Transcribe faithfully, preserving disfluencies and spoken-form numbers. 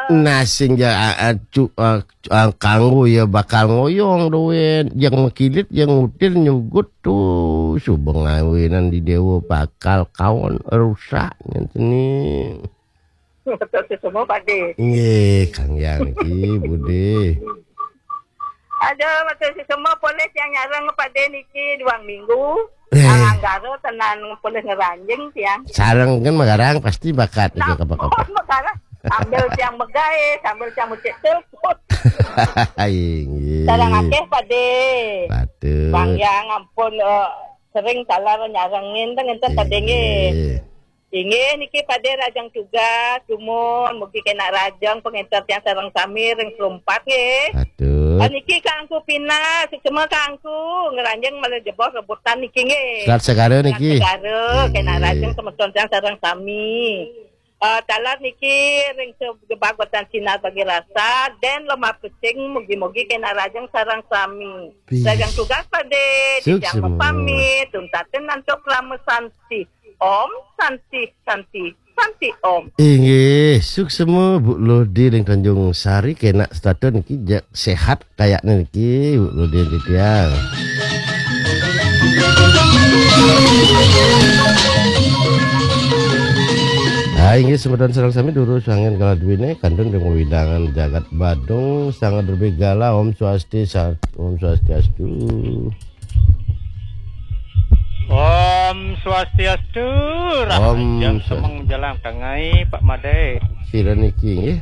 Nah, sing ya, a- a- cu- a- cu- a- kanggo ya bakal ngoyong duit. Yang mekilit, yang ngutil nyugut tuh. Suba ngawinan di dewa bakal kawan rusak ngenten ni. Betul semua Pak De. Nggih, Kang Yang niki, Budi. Aduh, betul semua polis yang nyarang Pak De niki dua minggu. Eh. Anggara tenan polis ngeranjing tiang. Sareng kan magarang pasti bakat niki Nah, apa-apa. Megara. Sambil tiang megai, sambil tiang mucik telepon. Inggih. Sarang akeh Pak De. Patut. Bang Yang ampun eh, sering salah nyarengin teng enten Pak De nggih. Inggih. Inggih niki Pak De rajang tugas dumun mugi kena rajang pengenter tiang sareng sami ring selumpat nggih. Patut. Ah, niki Kangku Pina, suksma Kangku, ngeranjing malah jebos rebutan niki nggih. Selat Segara niki. Segara, kena Nggih. rajang semeton tiang sareng sami. Eh, talar niki ring sebab watan sinar bagi rasa, dan lemah pecing mugi-mugi kena rajang sareng sami. Wih. Rajang tugas Pak De, Suksma. titiang pamit, tuntatin antuk lama santi. Om, santi, santi, santi Om. Inggih, suksma Bu Lodi ring Tanjung Sari kena status niki ja- sehat kayaknya niki Bu Lodi titiang. Ah, inggih semeton sareng sami durus angin kala duwene kantun ring wewidangan jagat Badung sangat berbegala. Om Swasti Sat- Om Swastiastu. Om Swastiastu. Om Rahajeng Swastiastu. Semeng jalan kangai Pak Made. Sira niki nggih.